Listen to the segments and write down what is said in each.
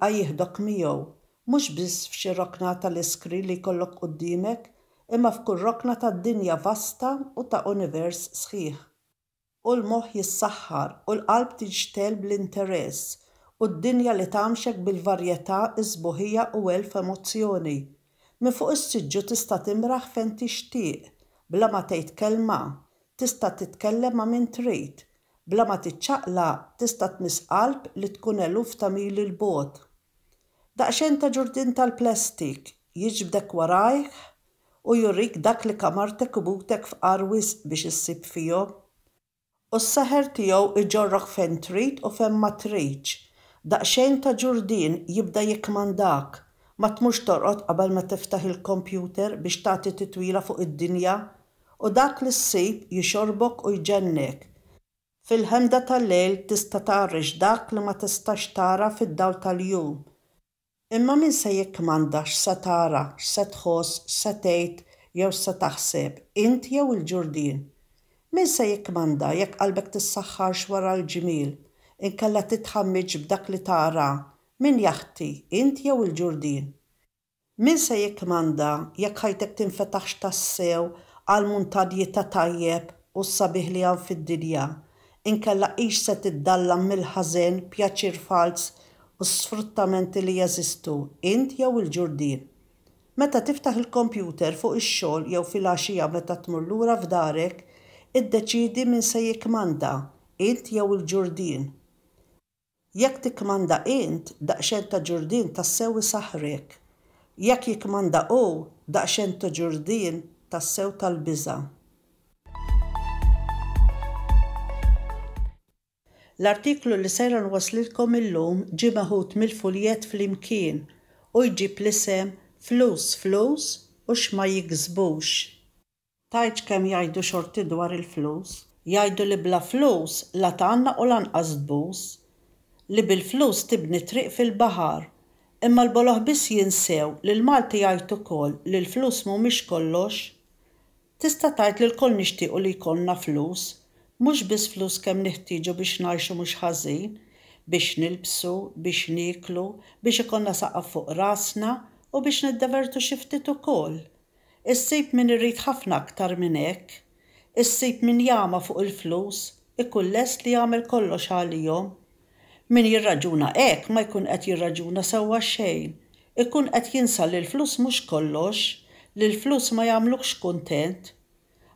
jibqa' jieħdok miegħu, mhux biss f'xi rokna tal-iskrin li jkollok quddiemek, imma f'kull rokna tad-dinja vasta u ta' univers sħiħ. U l-moħħ jissaħħar u l-qalb tinxtegħel bl-interess u d-dinja li tgħammxek bil-varjetà, is-sbuħija u elf emozzjoni. Minn fuq is-siġġu tista' timraħ fejn tixtieq, bla ma tgħid kelma, tista' titkellem ma' min trid, bla ma tiċċaqlaq tista' tmiss qalb li tkun eluf ta' mili 'l bogħod. Daqsxejn ta' ġurdien tal-plastik jiġbdek warajh u jurik dak li kamartek u butek fqar wisq biex issib fihom. U s-seħer tiegħu jġorrok fejn trid u fejn ma tridx. Daqsxejn ta' ġurdien jibda jikkmandak. Ma tmurx torqod qabel ma tiftaħ il-kompjuter biex tagħti titwila fuq id-dinja. U dak li ssib jixorbok u jġennek. Fil-ħemda tal-lejl tista' tgħarrex dak li ma tistax tara fid-dawl tal-jum. Imma min se jikkmanda x'se tara, x'se tħoss, x'se tgħid jew x'se taħseb, int jew il-ġurdien? Min se jikkmanda jekk qalbek tissaħħarx wara l-ġmiel, inkella titħammiġx b'dak li tara, min jaħti, int jew il-ġurdien? Min se jikkmanda jekk ħajtek tinfetaħx tassew għall-muntanji ta' tajjeb u s-sabiħ li hawn fid-dinja, inkella hix se tiddallam mill-ħażen, pjaċir falz u sfruttamenti li jeżistu, int jew il-ġurdien? Meta tiftaħ il-kompjuter fuq ix-xogħol jew filgħaxija meta tmur lura f'darek, iddeċiedi min se jikkmanda, int jew il-ġurdien. Jekk tikkmanda int, daqsxejn ta' ġurdien tassew isaħħrek. Jekk jikkmanda hu, daqsxejn ta' ġurdien tassew tal-biża'. L-artiklu li sejra nwasslilkom illum ġie meħud mill-fuljett Flimkien u jġib l-isem Flus Flus u X'ma Jiksbux. Tgħidx kemm jgħidu xorti dwar il-flus. Jgħidu li bla flus la tgħannaq u lanqas tbus. Li bil-flus tibni triq fil-baħar. Imma l-boloh biss jinsew li l-Malti jgħid ukoll li l-flus mhumiex kollox. Tista' tgħid li lkoll nixtiequ li jkollna flus. Mhux biss flus kemm neħtieġu biex ngħixu mhux ħażin, biex nilbsu, biex nieklu, biex ikollna saqaf fuq rasna u biex niddevertu xi ftit ukoll. Issib min irid ħafna aktar minn hekk. Issib min jagħma fuq il-flus, ikun lest li jagħmel kollox għalihom. Min jirraġuna hekk ma jkun qed jirraġuna sewwa xejn. Ikun qed jinsa li l-flus mhux kollox, li l-flus ma jagħmlukx kuntent.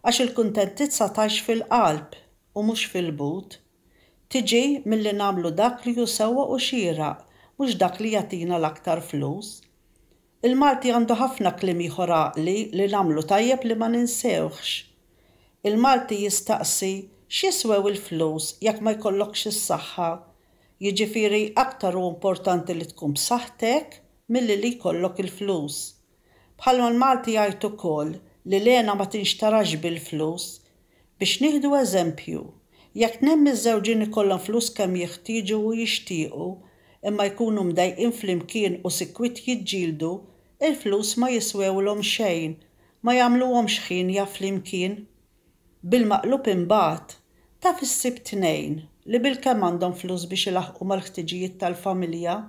Għax il-kuntentizza tgħix fil-qalb u mhux fil-but. Tiġi milli nagħmlu dak li hu sewwa u xieraq, mhux dak li jagħtina l-aktar flus. Il-Malti għandu ħafna kliem ieħor għaqli li nagħmlu tajjeb li ma ninsewhx. Il-Malti jistaqsi x'jiswew il-flus jekk ma jkollokx is-saħħa? Jiġifieri aktar hu importanti li tkun b'saħħtek milli li jkollok il-flus. Bħalma l-Malti jgħid ukoll li l-hena ma tinxtarax bil-flus. Biex nieħdu eżempju, jekk tnejn miżżewġin ikollhom flus kemm jeħtieġu u jixtiequ, imma jkunu mdejqin flimkien u sikwit jiġġieldu, il-flus ma jiswewlhom xejn, ma jagħmluhomx ħienja flimkien. Bil-maqlub imbagħad, taf issib tnejn li bilkemm għandhom flus biex ilaħħqu mal-ħtiġijiet tal-familja,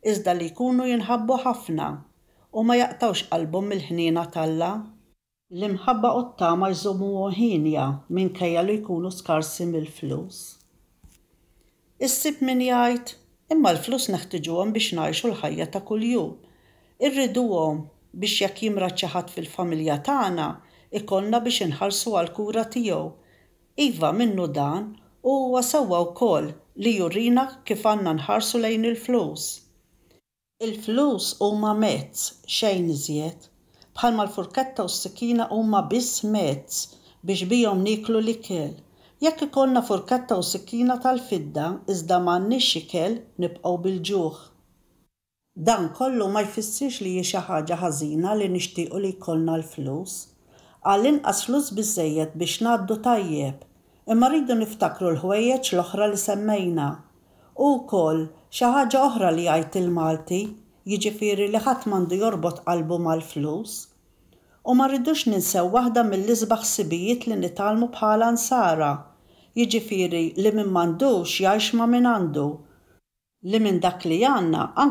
iżda li jkunu jinħabbu ħafna u ma jaqtgħux qalbhom mill-ħniena t'Alla. L-imħabba u t-tama jżommuhom hienja minkejja li jkunu skarsi mill-flus. Issib min jgħid, Imma l-flus neħtiġuhom biex ngħixu l-ħajja ta' kuljum. Irriduhom biex jekk jimrad xi ħadd fil-familja tagħna, ikollna biex inħallsu għall-kura tiegħu. Iva, minnu dan, u huwa sewwa wkoll li jurina kif għandna nħarsu lejn il-flus. Il-flus huma mezz, xejn iżjed. Bħalma l-furketta u s-sikkina huma biss mezz biex bihom nieklu l-ikel. Jekk ikollna furketta u sikkina tal-fidda iżda m'għandniex ikel, nibqgħu bil-ġuħ. Dan kollu ma jfissirx li hi xi ħaġa ħażina li nixtiequ li jkollna l-flus. Għall-inqas flus biżżejjed biex ngħaddu tajjeb. Imma rridu niftakru l-ħwejjeġ l-oħra li semmejna. U wkoll, xi ħaġa oħra li jgħid il-Malti, jiġifieri li ħadd m'għandu jorbot qalbu mal-flus. U ma rridux ninsew waħda mill-isbaħ ħsibijiet li nitgħallmu bħala Nsara, jiġifieri li min m'għandux jgħix ma' min għandu. Li minn dak li għandna anke.